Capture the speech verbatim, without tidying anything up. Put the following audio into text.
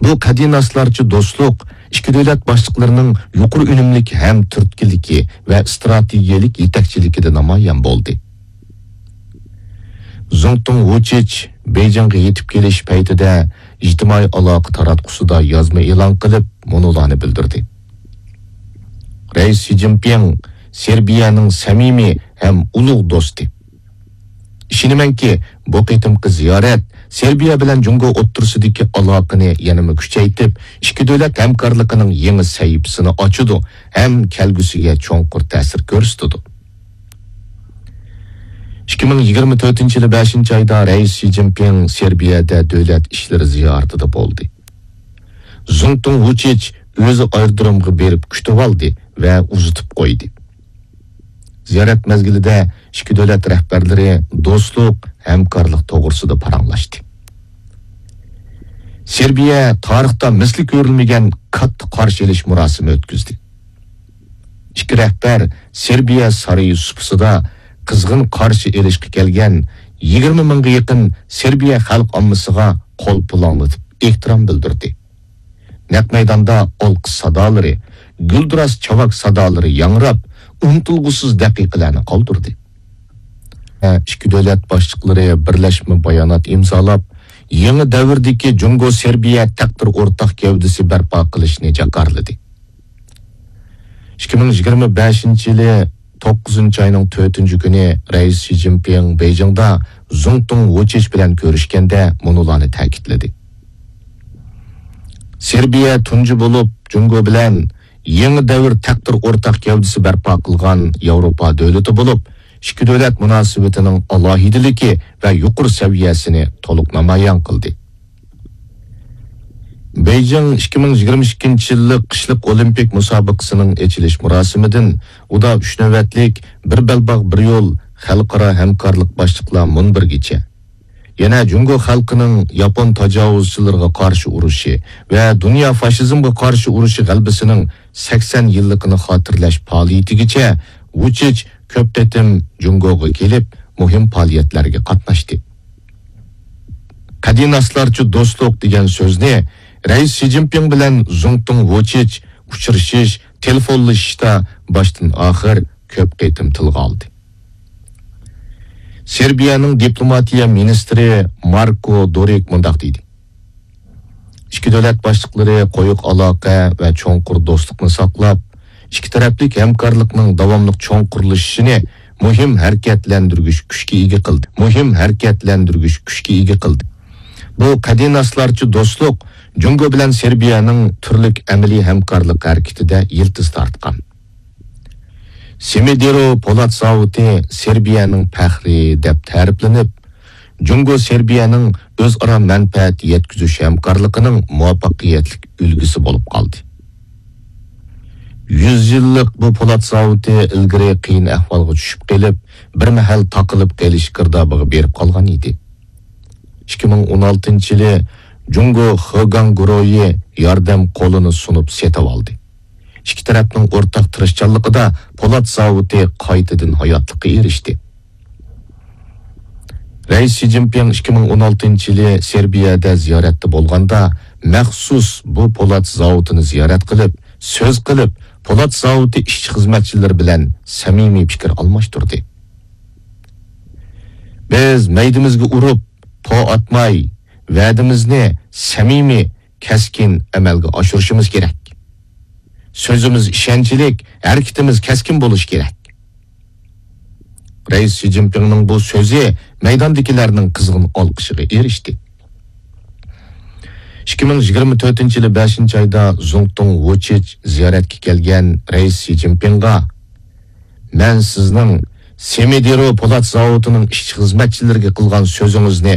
بۇ قەدىناسلارچە دوستلۇق ئىككى دۆلەت باشلىقلىرىنىڭ يۇقىرى ئۈنۈملۈك ھەم تۈرتكىلىكى ۋە ئىستراتېگىيەلىك يېتەكچىلىكىدە نامايان بولدى. زۇڭتۇڭ ۋۇچىچ بېيجىڭغا يېتىپ كېلىش پەيتىدە ئىجتىمائىي ئالاقە تاراتقۇسىدا يازما ئېلان قىلىپ، مۇنۇلارنى بىلدۈردى: رەئىس شى جىنپىڭ سېربىيەنىڭ سەمىمىي ھەم ئۇلۇغ دوستى. ئىشىنىمەنكى، بۇ قېتىمقى زىيارەت سېربىيە بىلەن جۇڭگو ئوتتۇرىسىدىكى ئالاقىنى يەنىمۇ كۈچەيتىپ، ئىككى دۆلەت ھەمكارلىقىنىڭ يېڭى سەھىپىسىنى ئاچىدۇ ھەم كەلگۈسىگە چوڭقۇر تەسىر كۆرسىتىدۇ. ئىككى مىڭ يىگىرمە تۆتىنچى يىلى بەشىنچى ئايدا رەئىس شى جىنپىڭ سېربىيەدە دۆلەت ئىشلىرى زىيارىتىدە بولدى. زۇڭتۇڭ ۋۇچىچ ئۆزى ئايرودرومغا بېرىپ كۈتۈۋالدى ۋە ئۇزىتىپ قويدى. زىيارەت مەزگىلىدە ئىككى دۆلەت رەھبەرلىرى دوستلۇق، ھەمكارلىق توغرىسىدا پاراڭلاشتى. سېربىيە تارىختا مىسلى كۆرۈلمىگەن كاتتا قارشى ئېلىش مۇراسىمى ئۆتكۈزدى. ئىككى رەھبەر سېربىيە سارىيى سۇپىسىدا قىزغىن قارشى ئېلىشقا كەلگەن يىگىرمە مىڭغا يېقىن سېربىيە خەلق ئاممىسىغا قول پۇلاڭلىتىپ ئېھتىرام بىلدۈردى. نەق مەيداندا ئالقىش سادالىرى، گۈلدۈراس چاۋاك سادالىرى ياڭراپ، ئۇنتۇلغۇسىز دەقىقىلەرنى قالدۇردى. ئىككى دۆلەت باشلىقلىرى بىرلەشمە بايانات ئىمزالاپ، يېڭى دەۋردىكى جۇڭگو سېربىيە تەقدىر ئورتاق گەۋدىسى بەرپا قىلىشنى جاكارلىدى. ئىككى مىڭ يىگىرمە بەشىنچى يىلى توققۇزىنچى ئاينىڭ تۆتىنچى كۈنى رەئىس شى جىنپىڭ بېيجىڭدا زۇڭتۇڭ ۋۇچىچ بىلەن كۆرۈشكەندە مۇنۇلارنى تەكىتلىدى: سېربىيە تۇنجى بولۇپ جۇڭگو بىلەن يېڭى دەۋر تەقدىر ئورتاق گەۋدىسى بەرپا قىلغان ياۋروپا دۆلىتى بولۇپ، ئىككى دۆلەت مۇناسىۋىتىنىڭ ئالاھىدىلىكى ۋە يۇقىرى سەۋىيەسىنى تولۇق نامايان قىلدى. بېيجىڭ ئىككى مىڭ يىگىرمە ئىككىنچى يىللىق قىشلىق ئولىمپىك مۇسابىقىسىنىڭ ئېچىلىش مۇراسىمىدىن ئۇدا ئۈچ نۆۋەتلىك بىر بەلباغ، بىر يول خەلقئارا ھەمكارلىق باشلىقلار مۇنبىرىگىچە، يەنە جۇڭگو خەلقىنىڭ ياپون تاجاۋۇزچىلىرىغا قارشى ئۇرۇشى ۋە دۇنيا فاشىزمغا قارشى ئۇرۇشى غەلىبىسىنىڭ سەكسەن يىللىقىنى خاتىرىلەش پائالىيىتىگىچە ۋۇچىچ كۆپ قېتىم جۇڭگوغا كېلىپ، مۇھىم پائالىيەتلەرگە قاتناشتى. قەدىناسلارچە دوستلۇق دېگەن سۆزنى رەئىس شى جىنپىڭ بىلەن زۇڭتۇڭ ۋۇچىچ ئۇچرىشىش، تېلېفونلىشىشتا باشتىن ئاخىر كۆپ قېتىم تىلغا ئالدى. سېربىيەنىڭ دىپلوماتىيە مىنىستىرى ماركو دورىك مۇنداق دېدى: ئىككى دۆلەت باشلىقلىرى قويۇق ئالاقە ۋە چوڭقۇر دوستلۇقنى ساقلاپ، ئىككى تەرەپلىك ھەمكارلىقنىڭ داۋاملىق چوڭقۇرلىشىشىنى مۇھىم ھەرىكەتلەندۈرگۈچ كۈچكە ئىگە قىلدى. مۇھىم ھەرىكەتلەندۈرگۈچ كۈچكە ئىگە قىلدى. بۇ قەدىناسلارچە دوستلۇق جۇڭگو بىلەن سېربىيەنىڭ تۈرلۈك ئەمەلىي ھەمكارلىق ھەرىكىتىدە يىلتىز تارتقان. سېمىدېرو پولات زاۋۇتى سېربىيەنىڭ پەخرى دەپ تەرىپلىنىپ، جۇڭگو سېربىيەنىڭ ئۆزئارا مەنپەئەت يەتكۈزۈش ھەمكارلىقىنىڭ مۇۋەپپەقىيەتلىك ئۈلگىسى بولۇپ قالدى. يۈز يىللىق بۇ پولات زاۋۇتى ئىلگىرى قىيىن ئەھۋالغا چۈشۈپ قېلىپ، بىر مەھەل تاقىلىپ قېلىش گىردابىغا بېرىپ قالغان ئىدى. ئىككى مىڭ ئون ئالتىنچى يىلى جۇڭگو خېگاڭ گۇرۇھى ياردەم قولىنى سۇنۇپ سېتىۋالدى. ئىككى تەرەپنىڭ ئورتاق تىرىشچانلىقىدا پولات زاۋۇتى قايتىدىن ھاياتلىققا ئېرىشتى. رەئىس شى جىنپىڭ ئىككى مىڭ ئون ئالتىنچى يىلى سېربىيەدە زىيارەتتە بولغاندا، مەخسۇس بۇ پولات زاۋۇتىنى زىيارەت قىلىپ، سۆز قىلىپ، پولات زاۋۇتى ئىشچى خىزمەتچىلىرى بىلەن سەمىمىي پىكىر ئالماشتۇردى. بىز مەيدىمىزگە ئۇرۇپ، پو ئاتماي، ۋەدىمىزنى سەمىمىي، كەسكىن ئەمەلگە ئاشۇرۇشىمىز كېرەك. سۆزىمىز ئىشەنچلىك، ھەرىكىتىمىز كەسكىن بولۇشى كېرەك. رەئىس شى جىنپىڭنىڭ بۇ سۆزى مەيداندىكىلەرنىڭ قىزغىن ئالقىشىغا ئېرىشتى. ئىككى مىڭ يىگىرمە تۆتىنچى يىلى بەشىنچى ئايدا زۇڭتۇڭ ۋۇچىچ زىيارەتكە كەلگەن رەئىس شى جىنپىڭغا، مەن سىزنىڭ سېمىدېرو پولات زاۋۇتىنىڭ ئىشچى خىزمەتچىلىرىگە قىلغان سۆزىڭىزنى